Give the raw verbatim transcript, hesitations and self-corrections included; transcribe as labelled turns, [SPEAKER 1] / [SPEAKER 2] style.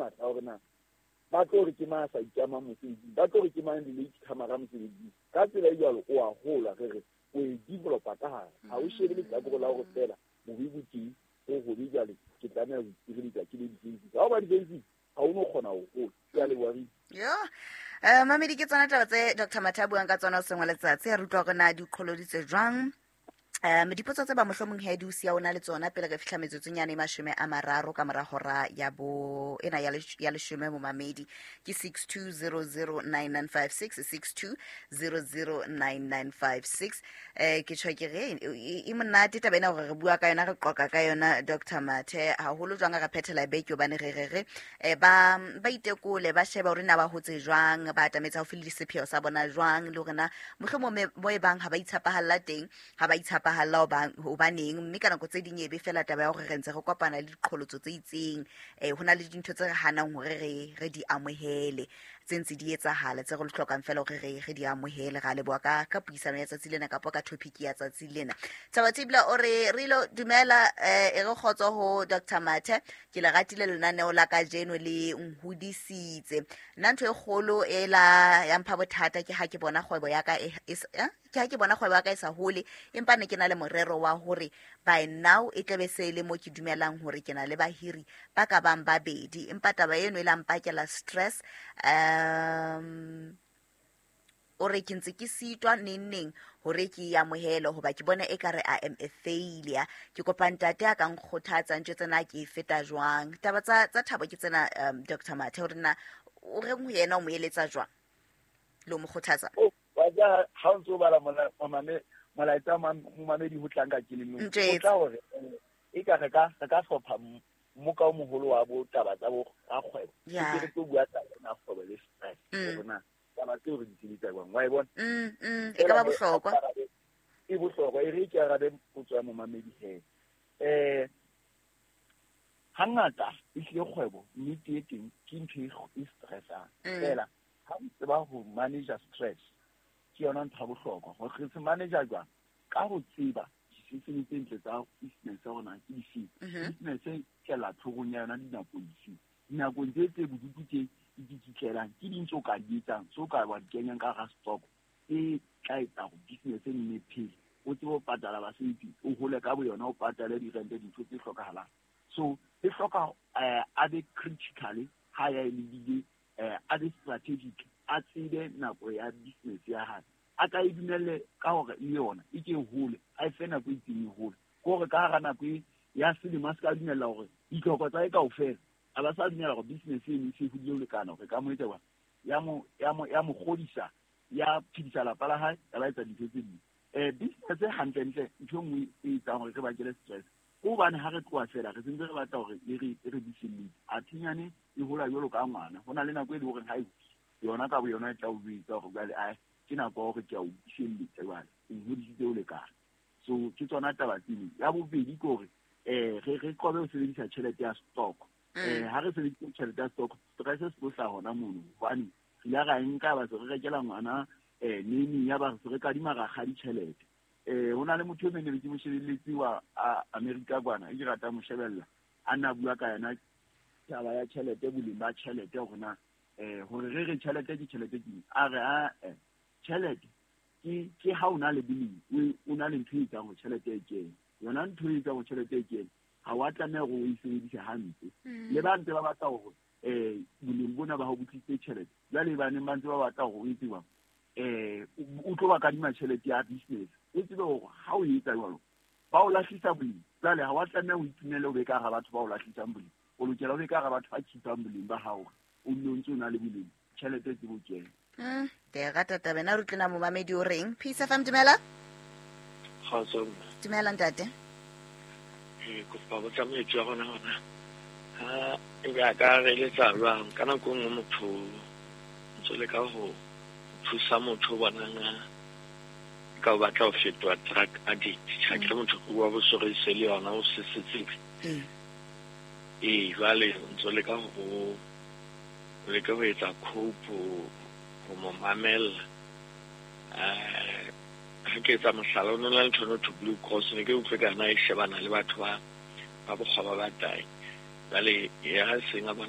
[SPEAKER 1] matla hore na ba tlo re ke mang a sa ikamang mosebetsing, ba tlo re ke mang le-late comer-a mosebetsing. Ka tsela e jwalo o a hola, re re o e developa ka hare. Ha o shebe lehlakore la hore feela bobe bo teng, ho hobe jwale ke tlameha ho itshireletsa ke le defensive. Ha o ba defensive ha o no kgona ho hola. Ke a leboha, Rita.
[SPEAKER 2] Yo. Eh, mamedi, ke tsona taba tse Doctor Mathe a buang ka tsona hoseng wa letsatsi. Ha re utlwa hore na di qholoditse jwang. Um dipotso tse ba mohlomong he di o siya o na le tsona pele re fihla metsotsong e mashome a mararo ka mora hora ya bo ena ya lesh-, ya leshome. Momamedi ke six two zero zero nine nine five six, six two zero zero nine nine five six. Eh, ke tjho ke re, e, e monate taba ena hore re bua ka yona, re qoqa ka yona Doctor Mathe, haholo jwang re phethela beke hobane re re re, eh, ba, ba itekole, ba sheba hore na ba hotse jwang, ba atametse haufi le sepheo sa bona jwang, le hore na mohlomong me-, mo e bang ha ba itshepahalla teng, ha ba itshepahalla hobaneng, mme ka nako tse ding e be fela taba ya hore re ntse re kopana le diqholotso tse itseng, eh, ho na le dintho tse re hanang hore re, re di amohele, tse ntse di etsahala, tse re hlokang fela hore re, re di amohele. Ra leboha ka, ka puisano ya tsatsi lena kapa ka topic ya tsatsi lena. Thabo Tibla o re, re lo dumela, eh, e re kgotso ho Doctor Mathe, ke le ratile lenaneo la kajeno, le nhodisitse. Nna ntho e kgolo e la ya mpha bothata ke ha ke bona kgwebo ya ka e, e s-, eh, ke ha ke bona kgwebo ya ka e sa hole, empa ne ke na le morero wa hore by now e tlabe se le mo ke dumelang hore ke na le bahiri ba ka bang babedi, empa taba eno e la mpakela stress. Um, o re ke ntse ke sitwa neng neng hore ke e amohele hoba ke bona ekare I am a failure. Ke kopa ntate a ka nkgothatsa, ntho tsena ke e feta jwang. Taba tsa, tsa Thabo ke tsena, um, Doctor Mathe, hore na o reng ho yena, o mo eletsa jwang le ho mo kgothatsa?
[SPEAKER 1] Oh, wa ja, ha o ntso bala mola-, momame-, molaetsa wa momamedi ho tlang ka kelellong, o
[SPEAKER 2] Ntjwetse.
[SPEAKER 1] tla hore, eh, e ka re ka, re ka hlopha m-, mmoka o moholo wa bo taba tsa bo rakgwebo.
[SPEAKER 2] Ya.
[SPEAKER 1] Ke re tlo bua taba ena ya kgwebo le stress,
[SPEAKER 2] Mm.
[SPEAKER 1] hore na taba tseo re di sebetsa jwang, wa e bona?
[SPEAKER 2] Mm, mm, e ka ba
[SPEAKER 1] Feela
[SPEAKER 2] bohlokwa.
[SPEAKER 1] E bohlokwa, e re ke arabe potso ya momamedi he. Eh, hangata ehlile kgwebo nnete e teng ke ntho e kg-, e stressang.
[SPEAKER 2] Mm.
[SPEAKER 1] Feela ha o tseba ho manage stress, ke yona ntho ya bohlokwa. Hore re se manage jwang? Ka ho tseba di-system tse ntle tsa business ya rona ke dife.
[SPEAKER 2] Mhm.
[SPEAKER 1] Business e kela tlhorong ya yona dinakong dife. Dinakong tse tse bodutu tse di tsitlelang, ke ding tseo ka di etsang, tseo ka wa di kenyang ka hara stock e tla etsa hore business e nne phele. O tsebe ho patala basebetsi, o hole ka boyona, o patale dirente, dintho tse hlokahalang. So e hloka, eh, a be critical ha ya e lebile, eh, a be strategic, a tsebe nako ya business ya hae. A ka e dumelle ka hore le yona e ke hole, a e fe nako e itseng e hole. Ke hore ka hara nako e ya selemo a se ka dumella hore ditlhoko tsa hae kaofela, a ba sa dumela hore business eno e se hodile ho lekana hore ka mo etsa jwang. Ya mo, ya mo, ya mo kgodisa, ya phedisa lapa la hae, ya ba etsa dintho tse ding. Eh, business e hantlentle, ntho e nngwe e etsang hore re bakele stress, ke hobane ha re tloha fela, re sentse re batla hore e re, e re buselletse. Athinyane e hola jwalo ka ngwana. Ho na le nako e leng hore ha e hole, yona ka boyona e tla o jwetsa hore jwale, ae, ke nako ya hore ke a o buselletsa jwale, o nhodisitse ho lekana. So ke tsona taba tseno. Ya bobedi ke hore, eh, re, re qobe ho sebedisa tjhelete ya stock.
[SPEAKER 2] Mm.
[SPEAKER 1] Eh, ha re sebedisa tjhelete ya stock, stress se tlo hlaha hona mono, hobane re ile ra e nka ba se re rekela ngwana, eh, nene ya ba se re kadima rakgadi tjhelete. Eh, ho na le motho e mong ne ke mo shebelletse wa, a, Amerika kwana, e ke ratang ho shebella, a nna bua ka yona taba ya tjhelete, boleng ba tjhelete hore na, eh, hore re re tjhelete ke tjhelete ke eng? A re, a, eh, tjhelete ke, ke ha o na le boleng, o, o na le ntho e etsang hore tjhelete e kene. Yona ntho e etsang hore tjhelete e kene, ha wa tlameha hore o e sebedise hampe.
[SPEAKER 2] Mm.
[SPEAKER 1] Le ba ntse ba batla hore, eh, boleng bona ba hao bo tlisitse tjhelete. Jwale ba neng ba ntse ba batla hore o etse jwang? Eh, o, o tlo ba kadima tjhelete ya business. O tsebe hore ha o etsa jwalo, ba o lahlisa boleng. Jwale ha wa tlameha ho itumelle o be ka hara batho ba o lahlisang boleng. O lokela o be ka hara batho ba keep-ang boleng ba hao, o nne o ntse o na le boleng. Tjhelete e tsebe ho kena.
[SPEAKER 2] Mm, ke e rata taba ena. Re utlwe na momamedi o reng? Peace F M, dumela.
[SPEAKER 3] Kgotso, mme.
[SPEAKER 2] Dumela, ntate.
[SPEAKER 3] Eh, kopa botsa moetsi wa rona hona. Ha ebe a ka re eletsa jwang? Ka nako e nngwe motho o ntso leka ho thusa motho o bonang a ka o batla ho fetoha drug addict. Ha ke re motho o bua bo psoriasis le yona, o se se tsebe.
[SPEAKER 2] Mm.
[SPEAKER 3] Ee, jwale o ntso leka ho, o leka ho etsa cope, ho, ho mo mamella. Eh, ha ke etsa mohlala, o no na le ntho e to Blue Cross, ne ke utlwe ka na e shebana le batho ba, ba bokgoba ba tahi. Jwale ya seng a bona